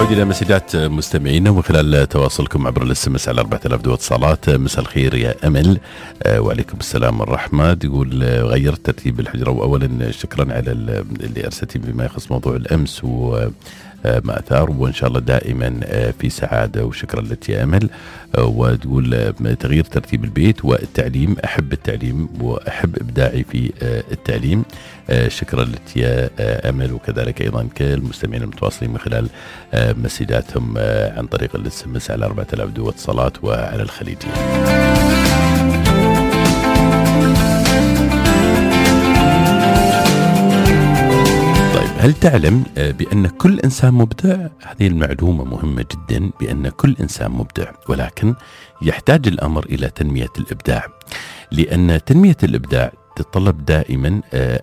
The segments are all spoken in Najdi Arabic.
نعود إلى مسجات مستمعينا من خلال تواصلكم عبر الاس على 4000 دو اتصالات. مساء الخير يا أمل. وعليكم السلام والرحمة. يقول غيرت ترتيب الحجرة، وأولا شكرا على اللي أرسلتي بما يخص موضوع الأمس وما أثار، وإن شاء الله دائما في سعادة، وشكرا لك يا أمل. وتقول تغيير ترتيب البيت والتعليم، أحب التعليم وأحب إبداعي في التعليم. شكرا لك يا أمل، وكذلك أيضا كالمستمعين المتواصلين من خلال مسجاتهم عن طريق الاس على 4000 دو اتصالات وعلى الخليجية. طيب، هل تعلم بأن كل إنسان مبدع؟ هذه المعلومة مهمة جدا، بأن كل إنسان مبدع، ولكن يحتاج الأمر إلى تنمية الإبداع، لأن تنمية الإبداع تتطلب دائما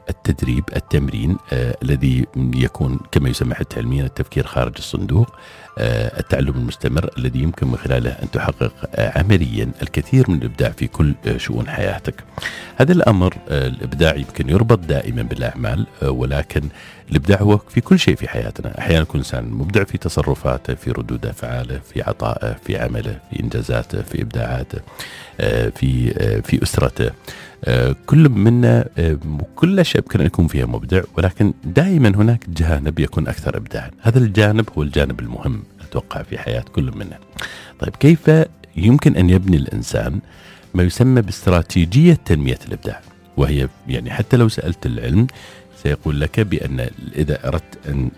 التدريب، التمرين الذي يكون كما يسمى حتى علميا التفكير خارج الصندوق، التعلم المستمر الذي يمكن من خلاله أن تحقق عمليا الكثير من الإبداع في كل شؤون حياتك. هذا الأمر الإبداع يمكن يربط دائما بالأعمال، ولكن الإبداع هو في كل شيء في حياتنا. أحيانا يكون إنسان مبدع في تصرفاته، في ردود أفعاله، في عطائه، في عمله، في إنجازاته، في إبداعاته، في أسرته. كل منا كل شيء يمكن أن يكون فيها مبدع، ولكن دائما هناك جانب يكون أكثر إبداعا. هذا الجانب هو الجانب المهم أتوقع في حياة كل منا. طيب، كيف يمكن أن يبني الإنسان ما يسمى باستراتيجية تنمية الإبداع؟ وهي يعني حتى لو سألت العلم سيقول لك بأن إذا أردت أن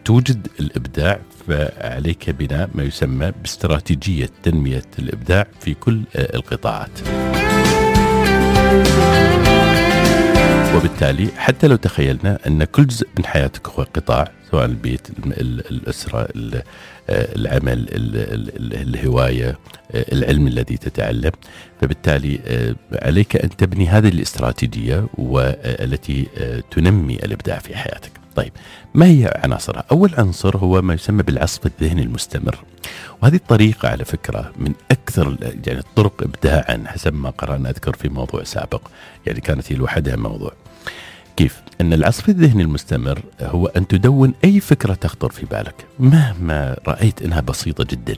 توجد الإبداع فعليك بناء ما يسمى باستراتيجية تنمية الإبداع في كل القطاعات. وبالتالي حتى لو تخيلنا أن كل جزء من حياتك هو قطاع، سواء البيت، الأسرة، العمل، الهواية، العلم الذي تتعلم، فبالتالي عليك أن تبني هذه الاستراتيجية والتي تنمي الإبداع في حياتك. طيب، ما هي عناصرها؟ أول عنصر هو ما يسمى بالعصف الذهني المستمر، وهذه الطريقة على فكرة من أكثر يعني الطرق إبداعا حسب ما قرأنا أذكر في موضوع سابق، يعني كانت هي لوحدها موضوع. كيف؟ أن العصف الذهني المستمر هو أن تدون أي فكرة تخطر في بالك مهما رأيت أنها بسيطة جدا،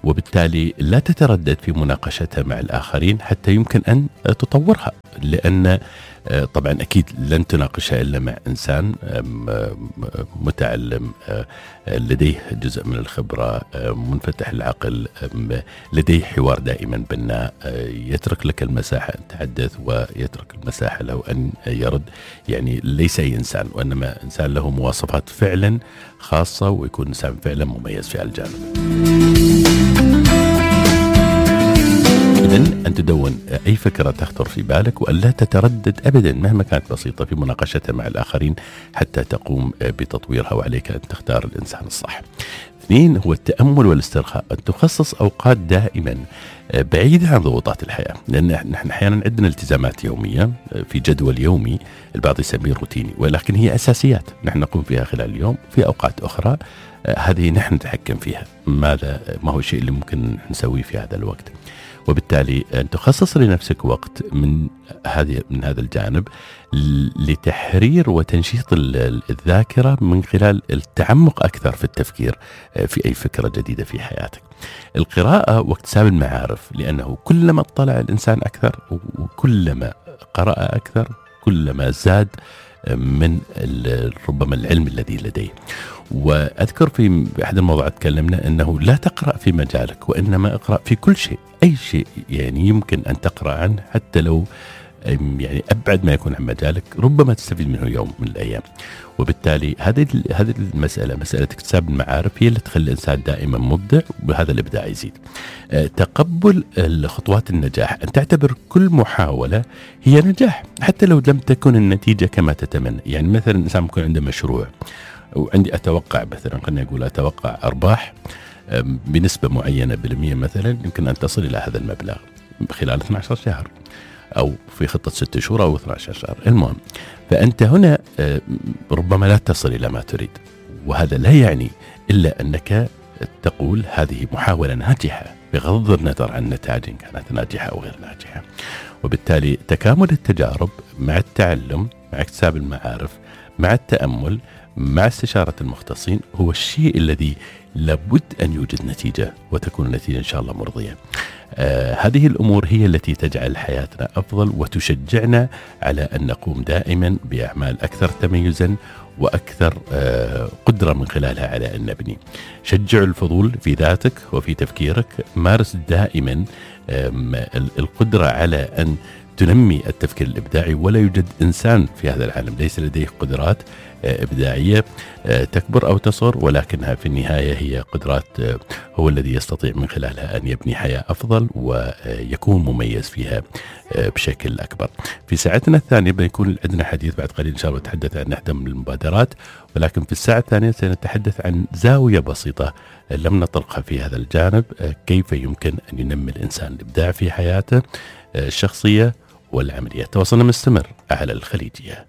وبالتالي لا تتردد في مناقشتها مع الآخرين حتى يمكن أن تطورها، لأن طبعا أكيد لن تناقشها إلا مع إنسان متعلم، لديه جزء من الخبرة، منفتح العقل، لديه حوار دائما بناء، يترك لك المساحة أن تحدث ويترك المساحة له أن يرد. يعني ليس أي إنسان، وإنما إنسان له مواصفات فعلا خاصة ويكون إنسان فعلا مميز في الجانب. إذن أن تدون أي فكرة تخطر في بالك، وأن لا تتردد أبدا مهما كانت بسيطة في مناقشتها مع الآخرين حتى تقوم بتطويرها، وعليك أن تختار الإنسان الصح. 2 هو التأمل والاسترخاء، أن تخصص أوقات دائما بعيدة عن ضغوطات الحياة، لأن نحن أحيانا عندنا التزامات يومية في جدول يومي، البعض يسميه روتيني، ولكن هي أساسيات نحن نقوم فيها خلال اليوم. في أوقات أخرى هذه نحن نتحكم فيها، ما هو الشيء اللي ممكن نسويه في هذا الوقت. وبالتالي أن تخصص لنفسك وقت من هذا الجانب لتحرير وتنشيط الذاكرة من خلال التعمق أكثر في التفكير في أي فكرة جديدة في حياتك. القراءة واكتساب المعارف، لأنه كلما اطلع الإنسان أكثر وكلما قرأ أكثر كلما زاد من ربما العلم الذي لديه. وأذكر في أحد الموضوعات تكلمنا أنه لا تقرأ في مجالك، وإنما اقرأ في كل شيء، أي شيء يعني يمكن أن تقرأ عنه حتى لو يعني أبعد ما يكون عن مجالك، ربما تستفيد منه يوم من الأيام. وبالتالي هذه المسألة، مسألة اكتساب المعارف، هي اللي تخلي الإنسان دائما مبدع، وهذا الإبداع يزيد. تقبل خطوات النجاح، أن تعتبر كل محاولة هي نجاح حتى لو لم تكن النتيجة كما تتمنى. يعني مثلا الإنسان يكون عنده مشروع وعندي أتوقع مثلا، خلينا نقول أتوقع أرباح بنسبة معينة بالمية مثلا، يمكن أن تصل إلى هذا المبلغ خلال 12 شهر أو في خطة 6 شهور أو 12 شهر، المهم. فأنت هنا ربما لا تصل إلى ما تريد، وهذا لا يعني إلا أنك تقول هذه محاولة ناجحة بغض النظر عن النتائج إن كانت ناجحة أو غير ناجحة. وبالتالي تكامل التجارب مع التعلم، مع اكتساب المعارف، مع التأمل، مع استشارة المختصين، هو الشيء الذي لابد أن يوجد نتيجة، وتكون النتيجة إن شاء الله مرضية. هذه الأمور هي التي تجعل حياتنا أفضل وتشجعنا على أن نقوم دائما بأعمال أكثر تميزا وأكثر قدرة من خلالها على أن نبني. شجع الفضول في ذاتك وفي تفكيرك، مارس دائما القدرة على أن تنمي التفكير الإبداعي. ولا يوجد إنسان في هذا العالم ليس لديه قدرات إبداعية تكبر أو تصغر، ولكنها في النهاية هي قدرات هو الذي يستطيع من خلالها أن يبني حياة أفضل ويكون مميز فيها بشكل أكبر. في ساعتنا الثانية بيكون عندنا حديث بعد قليل إن شاء الله نتحدث عن إحدى من المبادرات، ولكن في الساعة الثانية سنتحدث عن زاوية بسيطة لم نطرقها في هذا الجانب، كيف يمكن أن ينمي الإنسان الإبداع في حياته الشخصية والعملية. تواصلنا مستمر على الخليجية.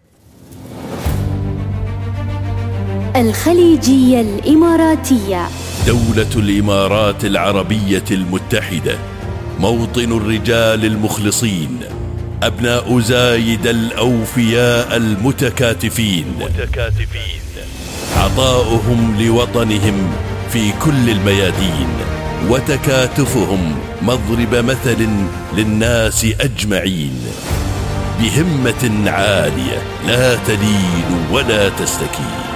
الخليجية الإماراتية. دولة الإمارات العربية المتحدة، موطن الرجال المخلصين، أبناء زايد الأوفياء المتكاتفين، عطاؤهم لوطنهم في كل الميادين، وتكاتفهم مضرب مثل للناس أجمعين، بهمة عالية لا تلين ولا تستكين.